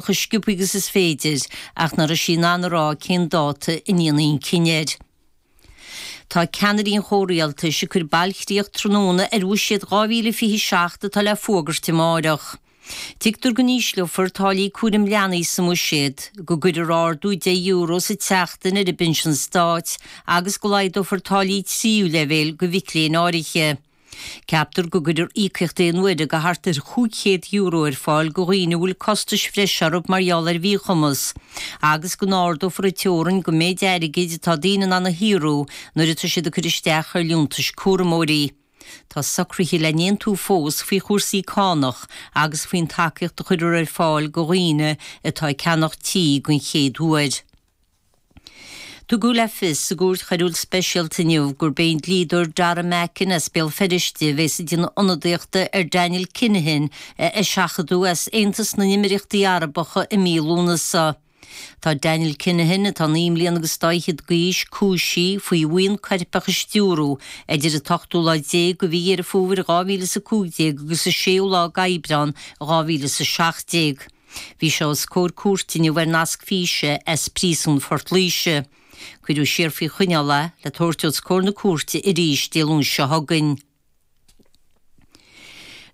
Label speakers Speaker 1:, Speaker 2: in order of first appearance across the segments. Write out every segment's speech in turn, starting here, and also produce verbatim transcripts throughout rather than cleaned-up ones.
Speaker 1: chomh sciobtha agus is féidir ach nach raibh sí in ann a rá cén dáta a ndéanfaí an cinneadh air. Tá ceannairí an chomhrialtais ag cur bailchríoch tráthnóna ar bhuiséad dhá mhíle fiche seacht atá le fuagairt amárach. Tuigtear go n-ísleofar táillí cúraim leanaí sa mbuiséad, go gcuirfear ardú deich euro sa tseachtain ar an bpinsean stáit agus go laghdófar táillí tríú leibhéal do mhic léinn áirithe. Ceaptar go gcuirfear íocaíocht aon uaire de thart ar chúig chéad euro ar fáil do dhaoine a bhfuil costais bhreise orthu mar gheall ar mhíchumas, agus go n-ardófar an teorainn don méid airgid atá daoine in ann a shaothrú nuair atá siad ag cur isteach ar liúntais cúramóirí. Tá socruithe le n-aontú fós faoi chúrsaí cánach agus faoin tacaíocht a chuirfear ar fáil do dhaoine atá ag ceannach tí den chéad uair. Tugadh le fios sa gCúirt Choiriúil Speisialta inniu gurb é an dlíodóir Dara Mackin as Béal Feirste a bheas ag déanamh ionadaíochta ar Daniel Kinahan a eiseachadadh as Aontas na nÉimíríochtaí Arabacha i mí Lúnasa. Tá Daniel Kinahan, atá naoi mbliana agus dá fhichead d'aois, cúisithe faoi bhuíon coirpeach a stiúradh idir an t-ochtú lá déag de mhí Dheireadh Fómhair dhá mhíle is a cúig déag agus an séú lá d'Aibreán dhá mhíle is a seacht déag. Bhí sé os comhair cúirte inniu ar nasc físe as Príosún Phort Laoise. Cuireadh siar faoi choinneáil é le tabhairt os comhair na cúirte arís Dé Luain seo chugainn.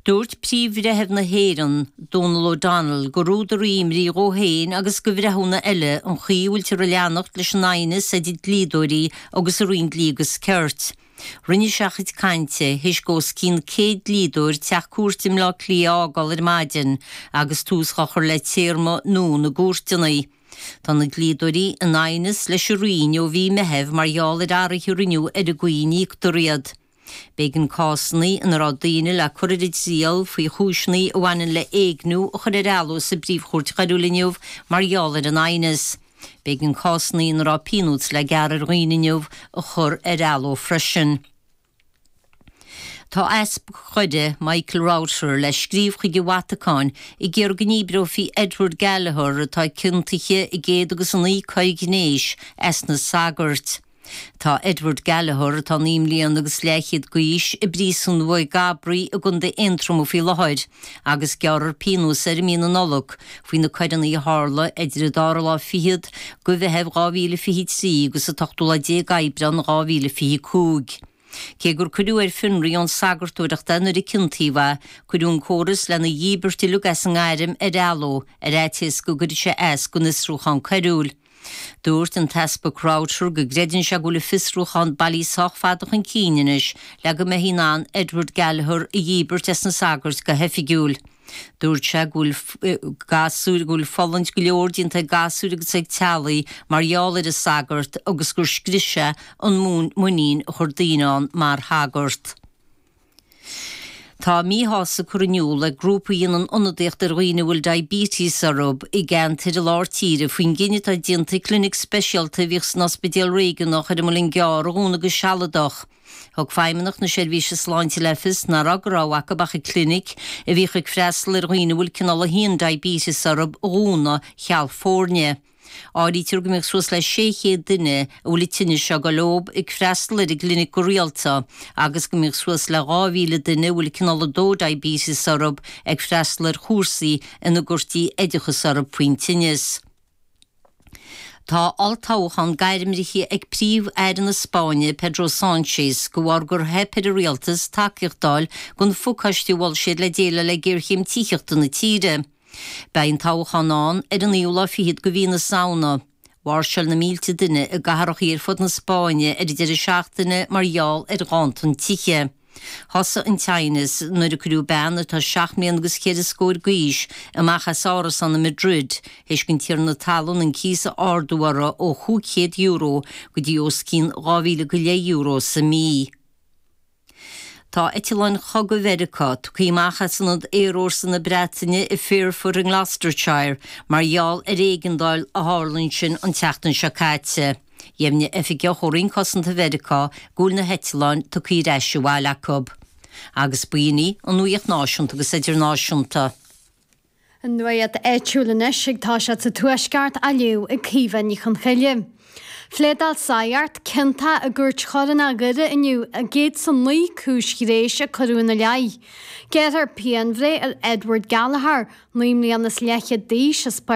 Speaker 1: Dúirt Príomh-Bhreitheamh na hÉireann, Donal O'Donnell, gur údar imní dhó féin agus do bhreithiúna eile an chaoi a bhfuiltear ag leanacht leis an aighneas idir dlíodóirí agus an Roinn Dlí agus Cirt. Rinne sé a chuid cainte théis dó os cionn céad dlíodóir teach cúirte i mBleá Cliath a fhágáil ar maidin agus tús á chur le téarma nua na gcúirteanna. Tá na dlíodóirí in aighneas leis an Roinn ó mhí Meithimh mar gheall ar athruithe a rinneadh ar an gcaoi a n-íoctar iad. B'éigean cásanna ina raibh daoine le cur ar a dtriail faoi chúiseanna a bhaineann le héigniú a chur ar athló sa bPríomh-Chúirt Choiriúil inniu mar gheall ar an aighneas. B'éigean cásanna ina raibh pionós le gearradh ar dhaoine inniu a chur ar athló freisin. Tá Easpag Dhoire, Michael Router, le scríobh chuig an Vatacáin ag iarraidh go ndíbreofaí Edward Gallagher, atá ciontaithe i gcéad agus a naoi coir ghnéis, as na sagairt. Tá Edward Gallagher, atá naoi mbliana agus leathchéad d'aois, i bpríosún Mhaigh gCabraí i gContae Aontroma faoi láthair agus gearrfar pionós air i mí na Nollag faoi na coireanna a tharla idir an dara lá fichead de Mheitheamh dhá mhíle fiche trí agus an t-ochtú lá déag Aibreán dhá mhíle fiche cúig. Cé gur cuireadh ar fionraí ón sagartóireacht é nuair a ciontaíodh é, cuireadh an córas lena dhíbirt uilig as an ngairm ar athló ar fhaitíos go gcuirfeadh sé as don fhiosrúchán coiriúil. Dúirt an tEaspag Router go gcreideann sé go bhfuil an fiosrúchán bailí sách fada chun cinn anois le go mbeifí in ann Edward Gallagher a dhíbirt as na sagairt go hoifigiúil. Dúirt sé go bhfuil gasúir, go bhfuil fulaingt go leor déanta ag gasúir agus ag teaghlaigh mar gheall ar an sagart agus gur scrios sé an muinín a chuir daoine ann mar shagart. Tá míshásamh curtha in iúl ag grúpa a dhéanann ionadaíocht ar dhaoine a bhfuil diabetes orthu i gceantair i lár tíre faoin gcinneadh atá déanta clinic speisialta a bhíodh san Ospidéal Réigiúnach ar an Muileann gCearr a dhúnadh go sealadach. Thug Feidhmeannacht na Seirbhíse Sláinte le fios nach raibh de rogha acu ach an clinic, a bhíodh ag freastal ar dhaoine a bhfuil cineál a haon diabetes orthu, a dhúnadh cheal foirne. Áirítear go mbeadh suas le sé chéad duine a bhfuil an tinneas seo ag dul leo ag freastal ar an gclinic go rialta agus go mbeadh suas le dhá mhíle duine a bhfuil cineál a dó diabetes orthu ag freastal ar chúrsaí ina gcuirtí oideachas orthu faoin tinneas. Tá olltoghchán gairmithe ag Príomh-Aire na Spáinne, Pedro Sánchez, de bharr gur theip ar an rialtas tacaíocht a fháil don phacáiste a mhol siad le déileáil le géarchéim tithíochta na tíre. Beidh an toghchán ann ar an naoú lá fichead de mhí na Samhna. Mháirseáil na mílte duine i gcathracha ar fud na Spáinne ar an deireadh seachtaine mar gheall ar ghanntan tithe. Thosaigh an t-aighneas nuair a cuireadh bean atá seacht mbliana agus ceithre scór d'aois amach as árasán i Madrid théis don tiarna talún an cíos a ardú uirthi ó chúig chéad euro go dtí os cionn dhá mhíle go leith euro sa mí. Tá eitleáin chogaidh Mheiriceá tugtha amach as ionad aerfhórsa na Breataine i Fairford i nGloucestershire mar gheall ar éigeandáil a tharla ansin an tseachtain seo caite. Dheimhnigh oifigeach ó Roinn Cosanta Mheiriceá go bhfuil na heitleáin tugtha ar ais abhaile acu. Agus b'in í an nuacht náisiúnta agus idirnáisiúnta.
Speaker 2: An nuacht áitiúil anois ag toiseacht sa Tuaisceart á léamh ag Caoimhe Ní Chonchoille. Phléadáil Sagart ciontach i gcúirt chorónach Dhoire inniu i gcéad is a naoi cúis ghnéis a cuireadh ina leith. Gearrfar pianbhreith ar Edward Gallagher, naoi mbliana is leathchéad d'aois as Páirc